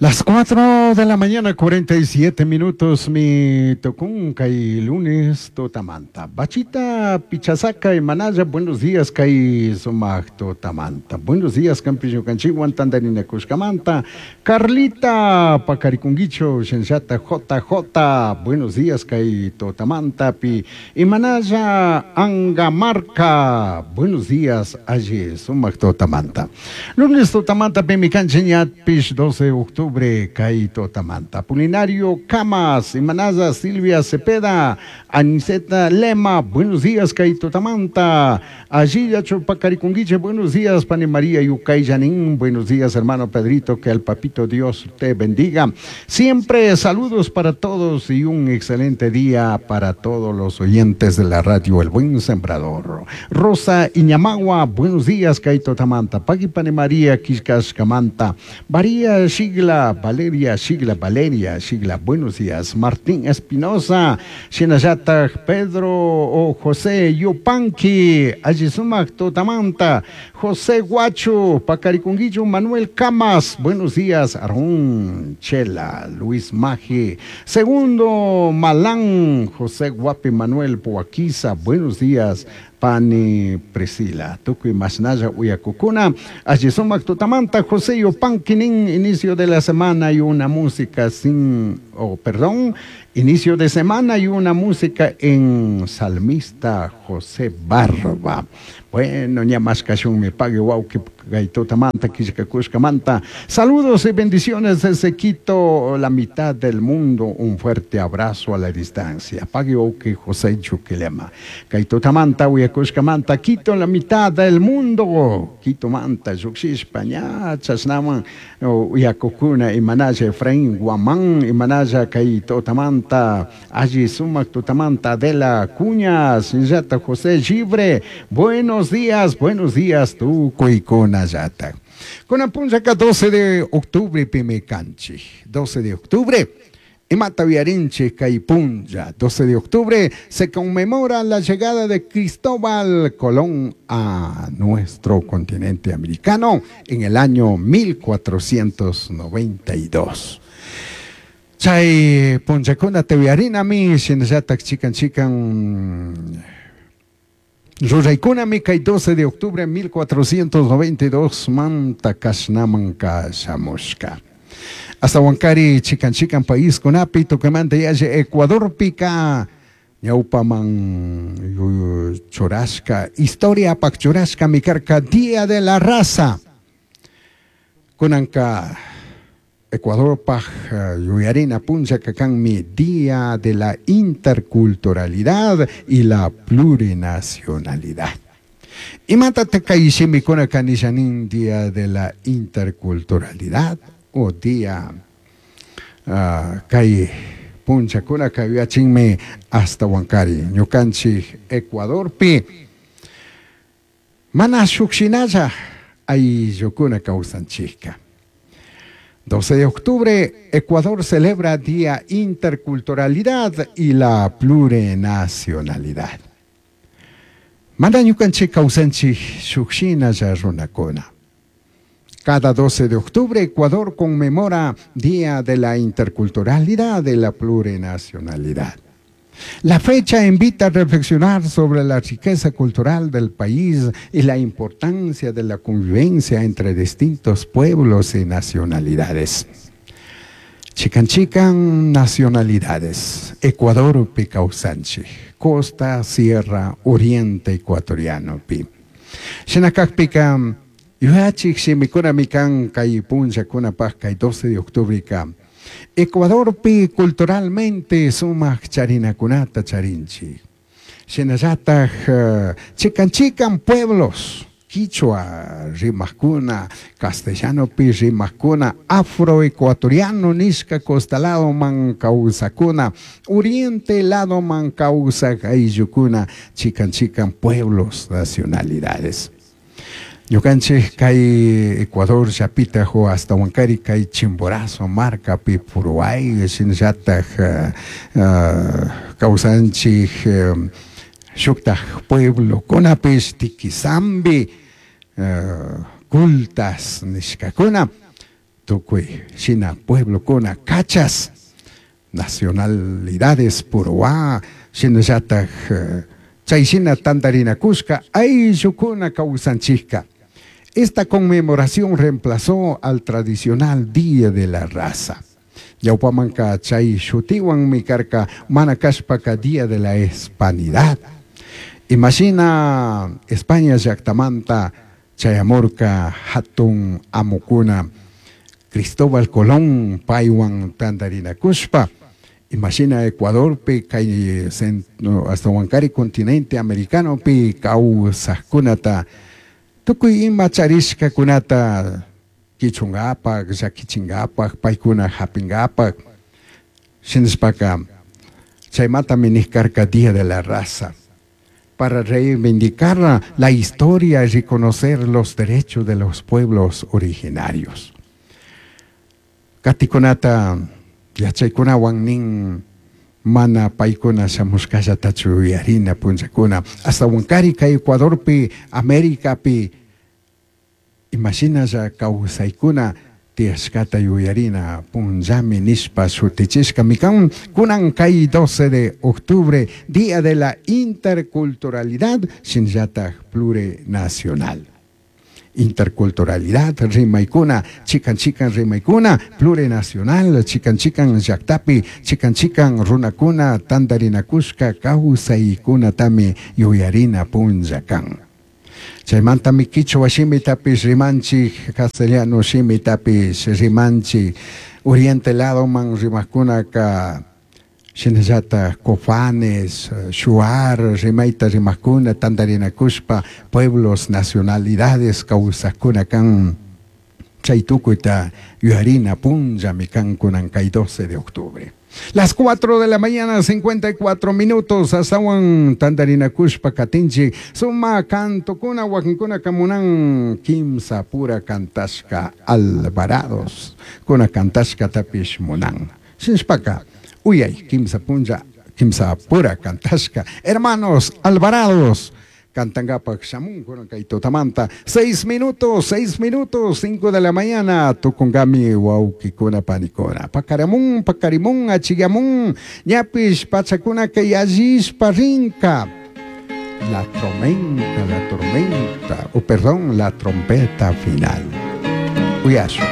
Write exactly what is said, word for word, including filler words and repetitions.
Las cuatro de la mañana, cuarenta y siete minutos, mi tucun kay lunes tutamanta. Bachita Pichasaca y Manaya, buenos días, kay sumak tutamanta. Buenos días, campiño canchiwan tandarina kushkamanta. Carlita Pacarikunguicho, Shenshata J J, buenos días, kay tutamanta. Pi y Manaya Angamarca, buenos días, alli sumak tutamanta. Lunes tutamanta, pimicanchiñat, pish doce de octubre, kay tutamanta. Pulinario Camas, Imanaza Silvia Cepeda, Aniceta Lema, buenos días, kay tutamanta. Allí Chupacaricunguiche, buenos días, Pani María Yucay Yanín, buenos días, hermano Pedrito, que el papito Dios te bendiga. Siempre saludos para todos y un excelente día para todos los oyentes de la radio El Buen Sembrador. Rosa Iñamagua, buenos días, kay tutamanta. Paqui Pani María Quiscascamanta, María Shigla, Valeria Shigla, Valeria Shigla, buenos días. Martín Espinosa, Shinayata Pedro o José Yupanqui, Allisumac tutamanta, José Guacho, Pacaricunguillo, Manuel Camas, buenos días. Arún Chela, Luis Maje, Segundo Malán, José Guapi Manuel Poaquiza, buenos días. Pani Priscila, tukuy mashnalla uyakukuna, Allisumac tutamanta, José Yupanqui, inicio de la semana y una música sin, oh, perdón, inicio de semana y una música en Salmista José Barba. Bueno, ña me pague wauki manta manta. Saludos y bendiciones desde Quito, la mitad del mundo. Un fuerte abrazo a la distancia. Pague wauki José Chuquilema. Manta, manta, Quito, la mitad del mundo. Quito manta, Yuxishpa, ña, chashnaman, uyakukuna, imanaya Efraín Guamán, imanaya kay tutamanta, alli sumak tutamanta, Adela Cuñas, Yata José Gibre. Buenos días, buenos días, tukuikunallata. Kunan punllaka doce de octubre pimicanchi. doce de octubre. Imata uyarinchij kay punlla, doce de octubre, se conmemora la llegada de Cristóbal Colón a nuestro continente americano en el año mil cuatrocientos noventa y dos. Chay punllakuna uyarinami, shinallatak chikan chikan ruraykunami kay doce de octubre mil cuatrocientos noventa y dos manta kashnaman kashamushka. Hasta chikan chikan país kunapi tukuymanta yalli Ecuadorpika ñawpaman churashka historia pak churashka mikarka Día de la Raza. Kunanka Ecuadorpaj yuyarina punlla kanmi Día de la Interculturalidad y la Plurinacionalidad. Imatataj kay shimikuna kanishanin Día de la Interculturalidad o Día uh, kay punllakuna kayachinmi ashtawankari ñukanchik Ecuadorpi mana shukshinalla ayllukuna kawsanchikka. doce de octubre, Ecuador celebra Día Interculturalidad y la Plurinacionalidad. Mana ñukanchik kawsanchik shukshinalla runakuna. Cada doce de octubre, Ecuador conmemora Día de la Interculturalidad y la Plurinacionalidad. La fecha invita a reflexionar sobre la riqueza cultural del país y la importancia de la convivencia entre distintos pueblos y nacionalidades. Chikan chikan nacionalidades. Ecuadorpi kawsanchik, Costa, Sierra, Oriente ecuatoriano pi. Shinakakpika, yuyachik shimikuna kan kay punllakunapaj kay doce de octubre ka. Ecuadorpi culturalmente sumak charinakunata charinchik. Shinallataj uh, chikan chikan pueblos, quichua rimajkuna, castellano pi rimajkuna, afroecuatoriano nishka costa lado man kawsakuna, oriente lado man kawsak ayllukuna, chikan chikan pueblos, nacionalidades. Ñukanchik kay Ecuador llapita ashtawankari kay Chimborazo markapi Puruay shinallataj uh, uh, kawsanchik um, shuktaj pueblo kunapish Tiquizambi uh, Cultas nishkakuna. Tukuy shina pueblokuna kachas nacionalidades purwa shinallataj chay shina tantarinakushka ayllukuna kawsanchikka. Esta conmemoración reemplazó al tradicional Día de la Raza. Ñawpamanka chay shutiwanmi karka mana kashpaka Día de la Hispanidad. Imashina España llaktamanta chayamurka hatun amukuna Cristóbal Colón paywan tantarinakushpa. Imashina Ecuadorpi kay hasta Huancari continente americanopi kawsajkunata tukuy ima charishkakunata kichunkapak, llakichinkapak, paykuna hapinkapak. Shinashpaka chaymantami nijkarka Día de la Raza, para reivindicar la historia y reconocer los derechos de los pueblos originarios. Katikunata yachaykunawan nin mana paykuna shamushkallatachu yuyarina punllakuna hasta Huancari kay Ecuadorpi Americapi imashinalla kawsaykuna tiyashkata yuyarina punllami nishpa shutichishkami kan kunan kay doce de octubre, Día de la Interculturalidad shinallataj Plurinacional. Interculturalidad rimaykuna chikan chikan rimaykuna plurinacional chikan chikan llaktapi chikan chikan runakuna tantarinakushka kawsaykunatami yuyarina punlla kan. Chaymantami kichwa shimitapish rimanchik, castellano shimitapish rimanchik, oriente ladoman rimakkunaka shinallataj cofanes, shuar, rimayta rimakuna, tantarinakushpa, pueblos, nacionalidades kawsajkuna kan chay tukuyta yuyarina punllami kan kunan kay doce de octubre. Las cuatro de la mañana, cincuenta y cuatro minutos, asawan tantarinakushpa katinchik, suma kantokuna, wakinkuna kamunan, kimsa pura kantashka Alvarados, kuna kantashka tapish munan. Shinshpaka, uyay, kimsa punlla, kimsa pura kantashka, hermanos Alvarados, cantangapak shamun kunan kay tutamanta, seis minutos, seis minutos, cinco de la mañana, tukungami wawkikuna panikuna, pakaramun, pakarimun, achigamun, ñapish pachakuna kay allishpa rinka, la tormenta, la tormenta, o perdón, la trompeta final. Uyashu.